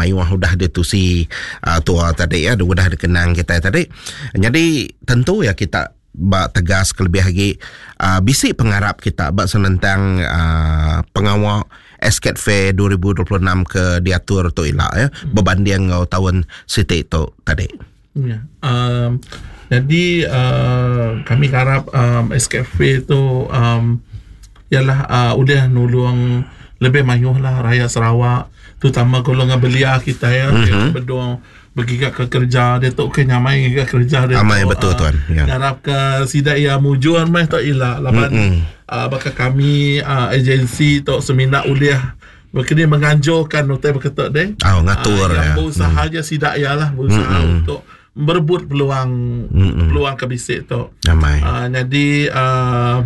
mayuh udah ditusi uh, tua tadi ya udah dikenang kita tadi. Jadi tentu ya kita ba tegas kelebih agi uh, bisi pengarap kita ba senentang uh, pengawa Esket Fair 2026 ke diatur tu ila ya berbanding enggau tahun siti tu tadi. Ya. Um, jadi uh, kami harap um, Escape Fair tu um, ialah uh, udah nulung lebih mayuh lah rakyat Sarawak terutama golongan belia kita ya mm-hmm. bedung begiga ke kerja dia tu ke nyamai giga kerja dia Amai tu, betul uh, tuan ya. Ngarap ke sida ia mujur meh tu ila laban mm-hmm. uh, baka kami uh, agensi tu semina ulih Begini menganjurkan utai beketuk deh. Oh, ngatur uh, yang ya. Berusaha hmm. je sidak ya lah berusaha hmm. untuk merebut peluang hmm. peluang ke bisik tu. Amai. Uh, jadi uh,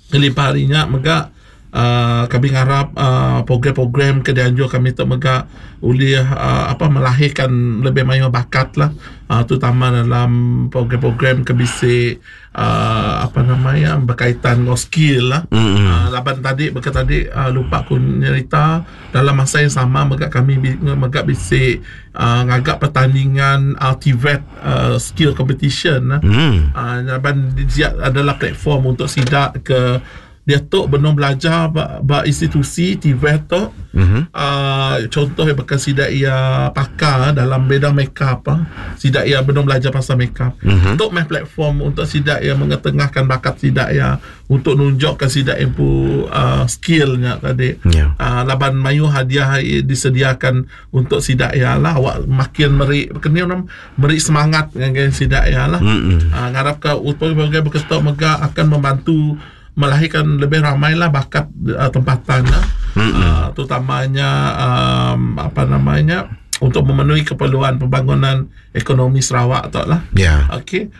kelimpah harinya mega uh, kami ngarap uh, program-program ke dianjur kami tu mega ulih uh, apa melahirkan lebih mayuh bakat lah uh, terutama dalam program-program ke bisik uh, apa namanya berkaitan dengan skill lah. Mm-hmm. Uh, laban tadi baka tadi uh, lupa aku nyerita dalam masa yang sama mega kami mega bisi uh, ngagak pertandingan uh, TVET uh, skill competition lah. Mm. Uh, laban dia adalah platform untuk sidak ke Dia tu benung belajar ba, ba institusi TVET tu. Mm-hmm. Uh, contoh yang bakal sidak ia pakar dalam bidang makeup. Uh. Sidak ia benung belajar pasal makeup. Mm-hmm. Tu meh platform untuk sidak ia mengetengahkan bakat sidak ia untuk nunjukkan sidak empu uh, skillnya tadi. Yeah. Uh, laban mayu hadiah disediakan untuk sidak ia lah. Awak makin meri kena orang meri semangat dengan sidak ia lah. Mm-hmm. Uh, ngarap ke program berketok mega akan membantu melahirkan lebih ramai lah bakat uh, tempatan lah. Mm-hmm. Uh, terutamanya um, apa namanya untuk memenuhi keperluan pembangunan ekonomi Sarawak tu lah. Ya. Yeah. Okey.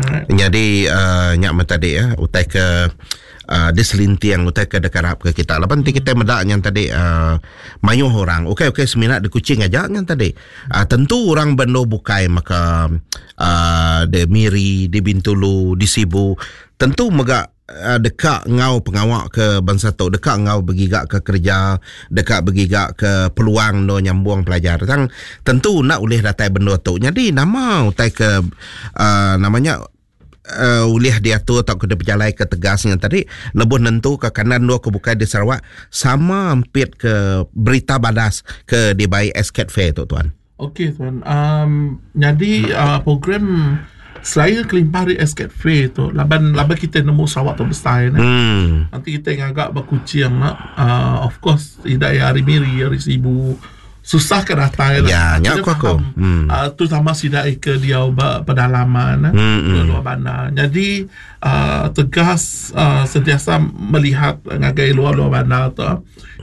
Alright. Jadi uh, nyak tadi ya utai ke uh, diselintiang utai ke dekarap ke kita. Laban nanti kita medak yang tadi uh, mayuh orang. Okey okey seminat di Kuching aja yang tadi. Uh, tentu orang bendo bukai maka uh, di Miri, di Bintulu, di Sibu tentu mega uh, deka ngau pengawa ke bangsa tu deka ngau begiga ke kerja deka begiga ke peluang no nyambung pelajar tang tentu nak ulih datai benda tu jadi nama utai ke uh, namanya uh, ulih diatur atau kena berjalai ke tegasnya tadi lebuh nentu ke kanan dua ke bukai di Sarawak sama ampit ke berita badas ke dibai Escape Fair tu tuan. Okey tuan. Um, jadi uh, program selain kelimpah dari Escape Fair tu laban laban kita nemu Sarawak tu besar ni. Hmm. Nanti kita ngagak berkucing nak uh, of course tidak ya hari Miri hari Sibu susah ke datai lah. Ya, nyak aku aku. Hmm. Uh, tu sama sidak ke dia pedalaman hmm. luar bandar. Jadi uh, tegas uh, sentiasa melihat ngagai luar-luar bandar tu.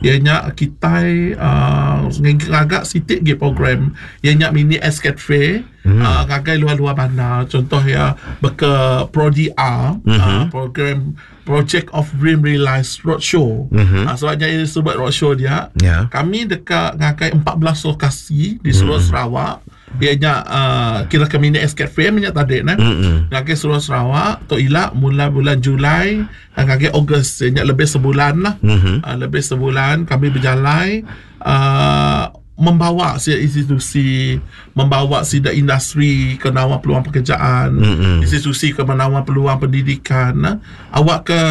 Ianya kita uh, ngagak sitik ge program ianya mini Escape Fair mm. uh, ngagai luar-luar bandar. Contoh ya beke Prodi R mm-hmm. uh, program Project of Dream Realize Roadshow. Mm-hmm. Uh, sebabnya ini sebut roadshow dia. Yeah. Kami dekat ngagai 14 lokasi di seluruh mm-hmm. Sarawak. Ianya uh, kira ke mini Escape Fair minyak tadi nah. Mm-hmm. Ngagai seluruh Sarawak tu ila mula bulan Julai ngagai Ogos ianya lebih sebulan lah. Mm-hmm. Uh, lebih sebulan kami berjalan uh, membawa si institusi, membawa si industri ke nawar peluang pekerjaan, mm-hmm. institusi ke menawar peluang pendidikan. Nah. Awak ke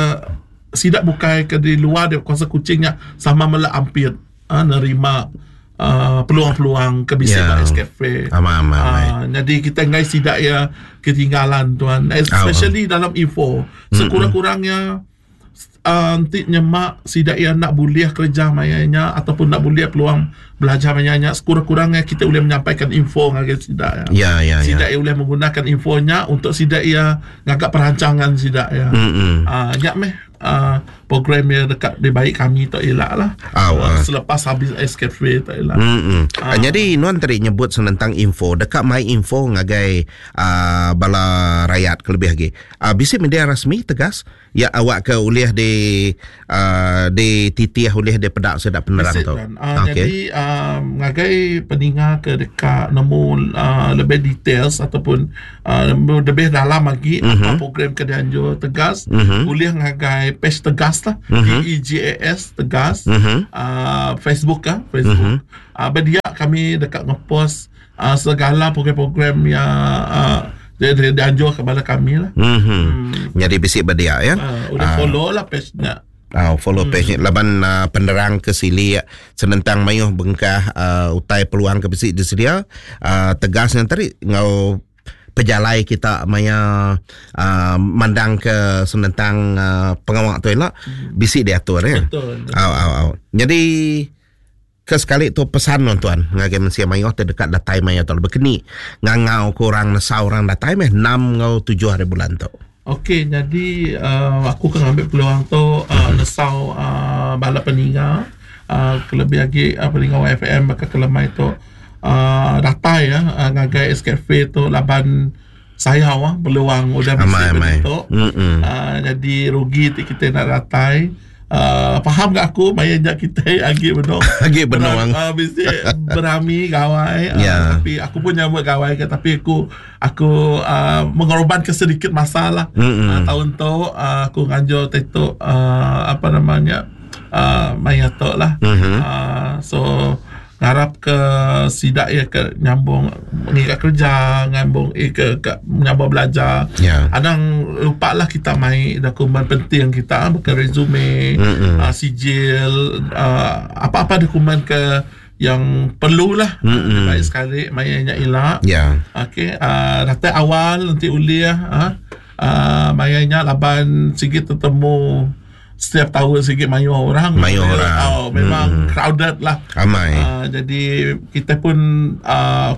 sidak bukai ke di luar dia kuasa kucingnya sama mela ampir uh, nerima uh, peluang-peluang ke bisik yeah. Escafe. Aman, aman, uh, jadi kita ngai sidak ya ketinggalan tuan, especially oh. dalam info. Sekurang-kurangnya uh, nanti nyemak sidak ia nak boleh kerja mayanya ataupun nak boleh peluang belajar mayanya, sekurang-kurangnya kita boleh menyampaikan info ngagai sidak ya. Ya, ya, sidak ya. ia boleh menggunakan infonya untuk sidak ia ngagak perancangan sidak ya. Mm-hmm. Uh, nyak meh uh, program yang dekat di baik kami tak elak lah. Oh, uh, selepas habis Escape Fair tak elak. Mm-hmm. Uh, jadi nuan tadi nyebut senentang info dekat mai info ngagai uh, bala rakyat kelebih lagi. Uh, bisi media rasmi tegas ya awak ke ulih di uh, di titih ulih di pedak sedak penerang tu. Uh, okay. Jadi uh, ngagai ngagai peninga ke deka nemu uh, lebih details ataupun uh, lebih dalam lagi mm -hmm. apa program ke dianjur Tegas mm -hmm. boleh ngagai page Tegas lah mm -hmm. T E G A S Tegas mm -hmm. uh, Facebook ah Facebook mm -hmm. uh, berdia kami deka ngepost uh, segala program-program yang uh, dia, dia dianjur kepada kami lah. Mm -hmm. hmm. Jadi bisi berdia ya. Uh, udah uh. follow lah page-nya. Au follow page nya laban uh, penerang ke silik senentang mayuh bengkah uh, utai peluang ke bisi disedia uh, tegas nya tadi enggau pejalai kita maya uh, mandang ke senentang uh, pengawa tu ila hmm. bisi diatur ya. Betul. Au au au. Jadi ke sekali tu pesan nuan tuan ngagai mensia mayuh ti deka datai maya tu bekeni ngangau ke orang nesau orang datai meh 6 enggau 7 hari bulan tu. Okey nyadi uh, aku ke ngambil peluang tu uh, nesau uh, bala peninga uh, kelebih agi uh, peninga YFM baka kelemai tu uh, datai ya uh, ngagai SKF tu laban sayau ah peluang udah bisi beditu. Uh, jadi rugi ti kita nak datai. Uh, faham gak aku maya nya kita agi benung agi benung uh, bisi berami gawai uh, yeah. tapi aku pun nyambut gawai ke tapi aku aku uh, mengorbankan sedikit masa lah mm-hmm. uh, tahun tu uh, aku nganjur tu uh, apa namanya uh, maya tu lah mm-hmm. uh, so Ngarap ke sida iya ke nyambung ngiga kerja, nyambung iya ke ka nyambung belajar. Ya. Anang lupa lah kita mai dokumen penting kita baka resume, Mm-mm. uh, sijil, uh, apa-apa dokumen ke yang perlu lah. Mm-mm. Baik sekali maya nya ila. Ya. Okey, uh, datai awal nanti ulih uh, uh, maya nya laban sigi tetemu setiap tahun sigi mayuh orang. Mayuh orang. Oh, memang hmm. crowded lah. Amai. Jadi kita pun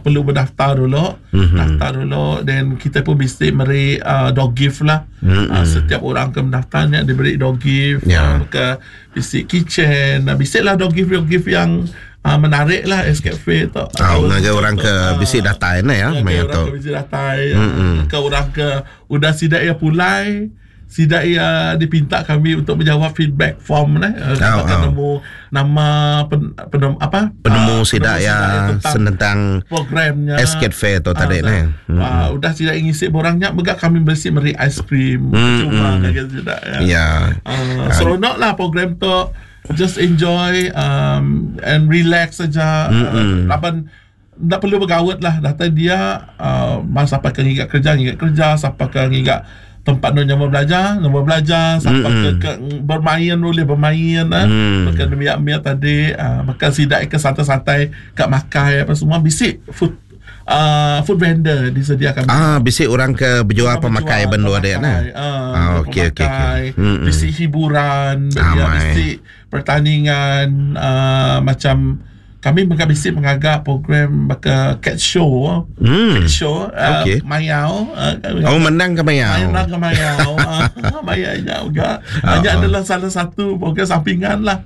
perlu berdaftar dulu. Mm-hmm. Daftar dulu dan kita pun mesti meri dog gift lah. Mm-hmm. Setiap orang ke mendaftarnya diberi dog gift, yeah. ke bisi kitchen, bisi lah dog gift dog gift yang menarik lah SKF tu. Oh, ngagai orang ke bisi datai ne ya, maya tu. Ke bisi datai, mm-hmm. ke orang ke udah sidak ya pulai. Sida iya dipinta kami untuk menjawab feedback form neh. Oh, Kita oh. nemu nama pen, penem, apa? Penemu sida ya senentang programnya Escape Fair tu tadi neh. Udah sida ngisi borangnya mega kami berisi meri aiskrim cuma ngagai sida ya. Ya. Seronok lah program tu. Just enjoy and relax saja. Laban tak perlu bergawat lah. Datang dia masa siapa ke ngiga kerja, ngiga kerja, siapa ke ngiga tempat nu nyambung belajar, nyambung belajar, siapa ke, ke bermain boleh bermain ah. Makan miak-miak tadi, makan sidak ke santai-santai kat makai apa semua bisik food food vendor disediakan. Bisik orang ke berjual pemakai benda dia nah. Okey okey okey. Bisik hiburan, dia bisik pertandingan macam kami mega bisik mengagak program baka cat show. Cat show okay. Mayau. Oh, menang ke mayau? Menang ke mayau. Mayau juga. Hanya adalah salah satu program sampingan lah.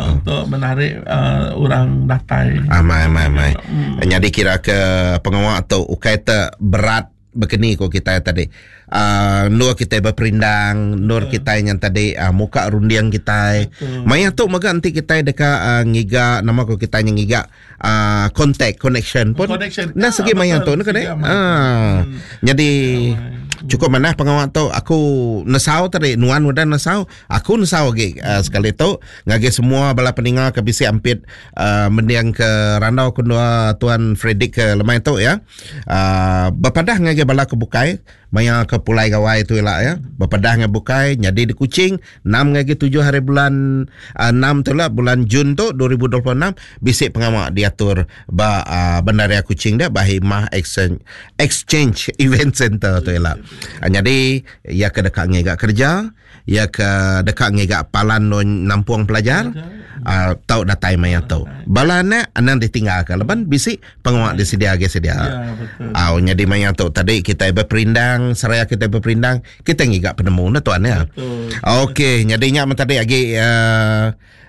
Untuk menarik orang datai. Amai amai amai. Jadi kira ke pengawak tu ukai te berat bekeni ko kita tadi. Nur kita berperindang, nur kita yang tadi muka rundiang kita. Maya tu mega nanti kita deka ngiga nama ko kita yang ngiga contact connection pun. Connection. Nah segi maya tu nak kan. Jadi cukup manah pengawak tu aku nesau tadi nuan udah nesau, aku nesau lagi sekali tu ngagi semua bala peninga ke bisi ampit mendiang ke randau kedua tuan Frederick ke lemai tu ya. Berpadah ngagi bala ke bukai maya ke Pulai Gawai tu lah ya. Berpadah dengan bukai jadi di Kuching 6 lagi 7 hari bulan 6 tu lah bulan Jun tu 2026 bisik pengawak diatur ba Bandaria Kuching dia Bahimah Exchange Event Center tu lah. Jadi ya ke dekat ngegak kerja, ya ke dekat ngegak palan nampung pelajar, tau datai maya tu. Bala anak anang ditinggalkan leban bisik pengawak disedia ge sedia. Ya, betul. Jadi maya tu tadi kita berperindang, seraya kita berperindang, kita ngigak penemu na tuan ya. Betul. Okey, jadinya tadi lagi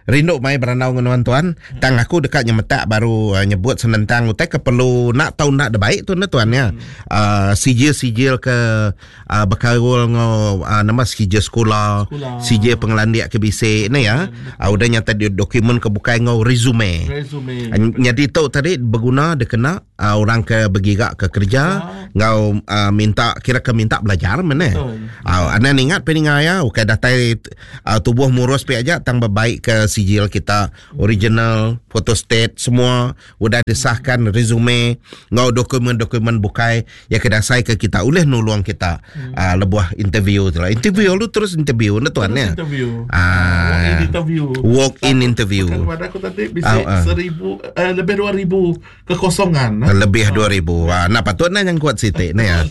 Rindu mai berandau enggau nuan tuan. Tang aku deka nyemetak baru uh, nyebut senentang utai ke perlu nak tau nak debaik tu ne tuan ya. Uh, sijil-sijil ke uh, bekaul enggau uh, nama sijil sekula, sijil pengelandik ke bisi ne ya. Uh, udah nyata di dokumen ke bukai enggau resume. Resume. Uh, nyadi tu tadi beguna dikena uh, orang ke begiga ke kerja enggau uh, minta kira ke minta belajar mene. Uh, anang ingat peninga ya ukai datai uh, tubuh murus pi aja tang bebaik ke sijil kita original photostat semua udah disahkan resume enggau dokumen-dokumen bukai ya ke dasai ke kita ulih nulung kita hmm. uh, lebuh interview tu lah. Interview lu terus interview ne tuan ya. Interview. Ah, walk in interview. Walk in interview. Pada aku tadi bisa uh, uh. seribu eh, lebih 2000 kekosongan. Eh? Lebih 2000. Ha, nak patut nak yang kuat sitik ni ya.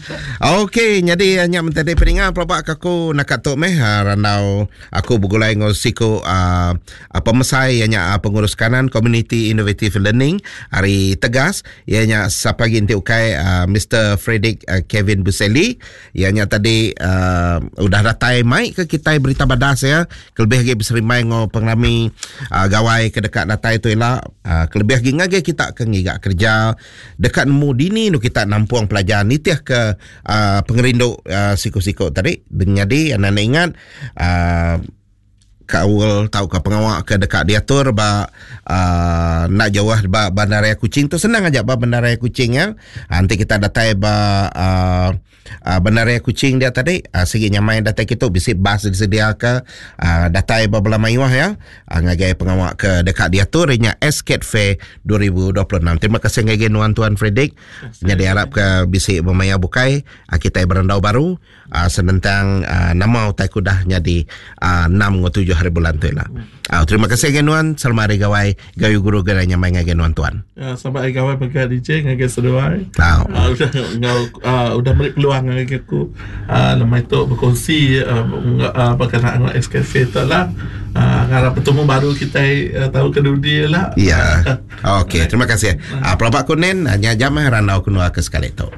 Okey, jadi hanya mentadi peninga pelabak aku nak kat meh ha, randau aku begulai ngau siku uh, pemesai ianya uh, pengurus kanan Community Innovative Learning hari Tegas ianya siapa lagi enti ukai uh, Mr. Frederick uh, Kevin Buseli ianya tadi uh, udah datai mai ke kita berita badas ya kelebih lagi beserimbai ngau pengerami uh, gawai ke dekat datai tu ila uh, kelebih lagi ngagai kita ke ngiga kerja dekat nemu dini nu kita nampung pelajar nitih ke uh, pengerindu uh, siku-siku tadi jadi anak ingat uh, kaul tau ke pengawa ke dekat diatur ba uh, nak jauh ba bandaraya Kuching tu senang aja ba bandaraya Kuching ya. Nanti kita datai ba uh, uh, Bandaraya Kuching dia tadi uh, sigi nyamai datai kitu bisi bas disediaka uh, datai ba bala mayuh ya uh, ngagai pengawa ke deka diatur nya Escape Fair 2026. Terima kasih ngagai nuan Tuan Frederick. Jadi harap ke bisi bermaya bukai uh, kita berandau baru uh, senentang uh, nama utai ku dah nyadi uh, 6 ngau 7 hari bulan tu lah. Uh, terima kasih ngagai nuan selamat hari gawai gayu guru gerai nyamai ngagai nuan tuan. Ya, selamat hari gawai mega DJ ngagai seduai. Tau. Uh, udah ngau uh, udah meri peluang ngagai aku uh, lemai tu berkongsi uh, uh, berkenaan dengan SKF tu lah. Uh, ngarap bertemu baru kita uh, tahu ke dudi lah. Ya. Okey, terima kasih. Uh, pelabak kunin hanya jam randau kunua ke sekali tu.